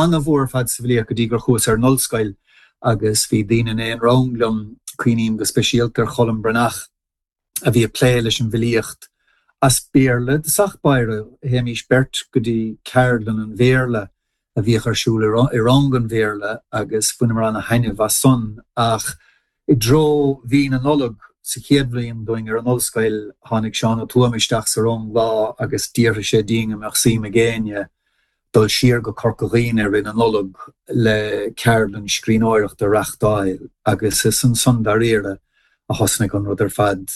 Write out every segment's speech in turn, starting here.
An-mhór ar fad sa bhfilíocht go dtí gur chuas ar an ollscoil agus bhí daoine in aon rang liom, cuimhním go speisialta ar Cholm Breathnach, a bhí ag plé leis an bhfilíocht as Béarla i dtosach báire. Théimís beirt go dtí ceardlann an Bhéarla a bhíodh ar siúl i rang an Bhéarla agus bhaineamar ana-thaitneamh as san ach i dtreo mhí na Nollag sa chéad bhliain dúinn ar an ollscoil tháinig Seán Ó Tuama isteach sa rang lá agus d'fhiafraigh sé dínn an mbeadh suim ag éinne dul siar go Corca Dhuibhne i rith na Nollag le ceardlann scríbhneoireachta a reachtáil agus is ansan dáiríre a thosnaigh an rud ar fad.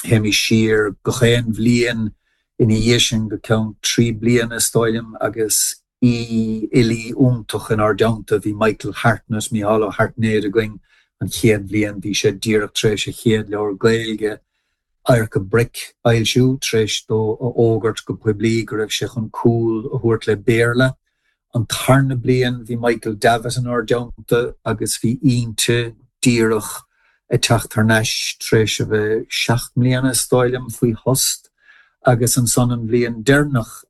Théimís siar gach aon bhliain ina dhiaidh sin go ceann 3 bliana is dóigh liom agus aoi-fhilí iontach inár dteannta. Bhí Michael Hartnett, Mícheál Ó hAirtnéide againn an chéad bhliain, bhí sé díreach tar éis a chéad leabhar Gaeilge, Adharca Broic a fhoilsiú, tar éis dó a fhógairt go poiblí go raibh sé chun cúl a thabhairt le Béarla. An tarna bliain bhí Michael Davitt inár dteannta agus bhí Innti díreach ag teacht thar n-ais tar éis a bheith 7 mbliana, is dóigh liom, faoi thost agus ansan an bhliain deireanach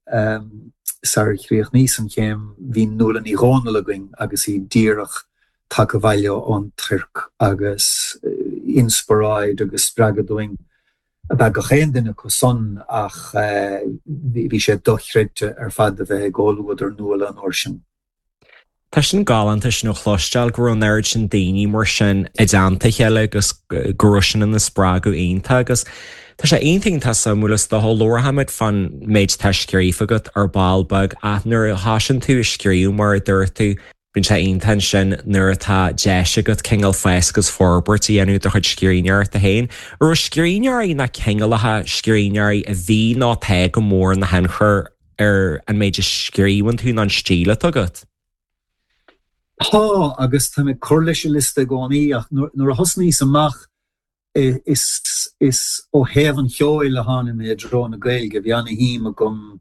sar chríochnaíos an chéim bhí Nuala Ní Dhomhnaill againn agus í díreach tagtha abhaile ón Tuirc agus inspioráid agus spreagadh dúinn ab ea gach aon duine acu san ach bhí sé dochreidte ar fad a bheith i gcomhluadar Nuala an uair sin. Tá sin galánta sin a chloisteáil go raibh an oiread sin daoine mar sin i dteannta a chéile agus go raibh sin ina spreagadh iontach agus tá sé iontach iontach suimiúil is dócha labharfaimid fán méid atá scríofa agat ar ball beag ach nuair a thosaíonn tú ag scríobh mar a dúirt tú Bíonn sé iontach ansin nuair atá deis agat cineál fás agus forbairt a dhéanamh do chuid scríbhneoireachta féin. An raibh scríbhneoirí nó cineálacha scríbhneoirí a bhí nó atá go mór ina thionchar ar an méid a scríobhann tú nó an stíl atá agat? Tá, agus táim ag cur leis an liosta i gcónaí ach nuair a thosnaíos amach is ó thaobh an cheoil a tháinig mé i dtreo na Gaeilge. Bhí ana-shuim agam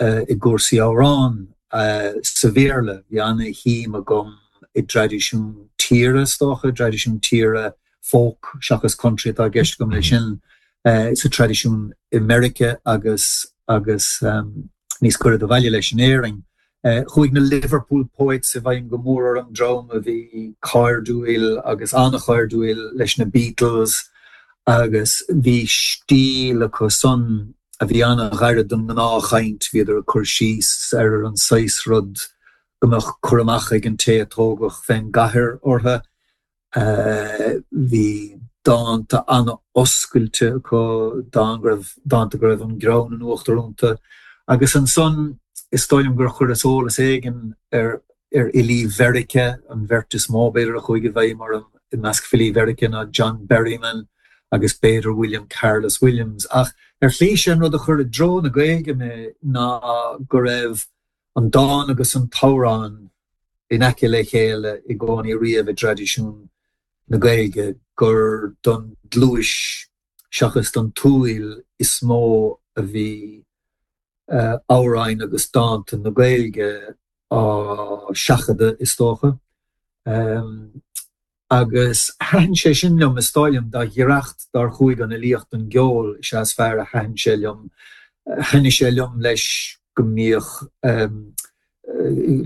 i gcúrsaí amhrán sa Bhéarla. Bhí ana-shuim agam i dtraidisiún tíre, is dócha, traidisiún tíre folk seachas country atá i gceist agam leis sin, sa traidisiún i Meiriceá agus agus níos gaire do bhaile leis in Éirinn. Chuaigh na Liverpool Poets i bhfeidhm go mór orm, dream a bhí cairdiúil agus an-chairdiúil leis na Beatles agus bhí stíl acu san a bhí an-ghairid don ngnáthchaint, bhíodar ag cur síos ar an saghas rud go mbeadh cur amach ag an té a tógadh fén gcathair orthu. Bhí dánta an-oscailte acu, dán go raibh, dánta go raibh an greann in uachtar iontu. Agus ansan, is dóigh liom gur chuireas eolas éigin ar ar fhilí Mheiriceá, an bheirt is mó, b'fhéidir, a chuaigh i bhfeidhm orm i measc filí Mheiriceá ná John Berryman agus b'fhéidir William Carlos Williams. Ach ar shlí, sé an rud a chuir i dtreo na Gaeilge mé ná go raibh an dán agus an t-amhrán in aice le chéile i gcónaí riamh i dtraidisiún na Gaeilge, gur don gcluais seachas don tsúil is mó a bhí amhráin agus dánta na Gaeilge á seachadadh, is dócha. Agus thaitin sé sin liom, is dóigh liom, dá ghiorracht dár chuaigh an fhilíocht don gceol is ea is fearr a thaitin sé liom. Thaitnigh sé liom, leis, go mbíodh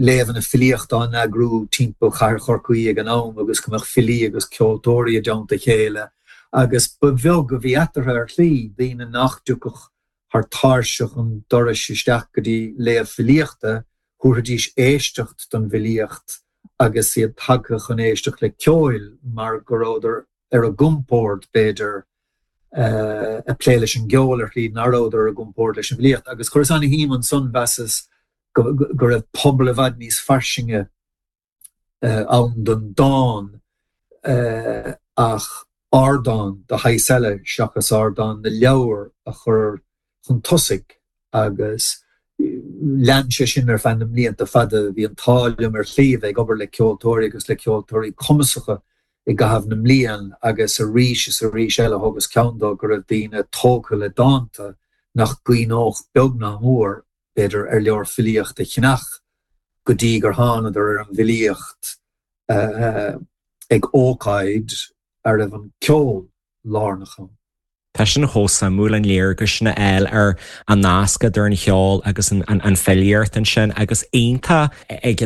léamhanna filíochta á n-eagrú timpeall chathair Chorcaí ag an am agus go mbeadh filí agus ceoltóirí i dteannta a chéile agus ba bheag a bhí eatarthu ar shlí, daoine nach dtiocfadh thar tairseach an dorais isteach go dtí léamh filíochta, thabharfaidís éisteacht don bhfilíocht agus iad tagtha chun éisteacht le ceoil mar go rabhadar ar a gcompord, b'fhéidir, ag plé leis an gceol ar shlí nach rabhadar ar a gcompord leis an bhfilíocht. Agus chuireas ana-shuim ansan, mheasas go raibh pobal i bhfad níos fairsinge ann don dán ach ardán de shaghas eile seachas ardán na leabhar a chur chun tosaigh agus lean sé sin ar feadh na mblianta fada. Bhí an t-ádh liom ar shlí a bheith ag obair le ceoltóirí agus le ceoltóirí cumasacha i gcaitheamh na mblian agus arís is arís eile thógas ceann dó go raibh daoine tógtha le dánta nach gcuimhneodh beag ná mór, b'fhéidir, ar leabhar filíochta a cheannach go dtí gur thánadar ar an bhfilíocht ag ócáid a raibh an ceol lárnach ann. Tá sin chomh suimiúil, an léargas sin a fháil ar an nasc idir an cheol agus an filíocht ansin agus iontach ag an.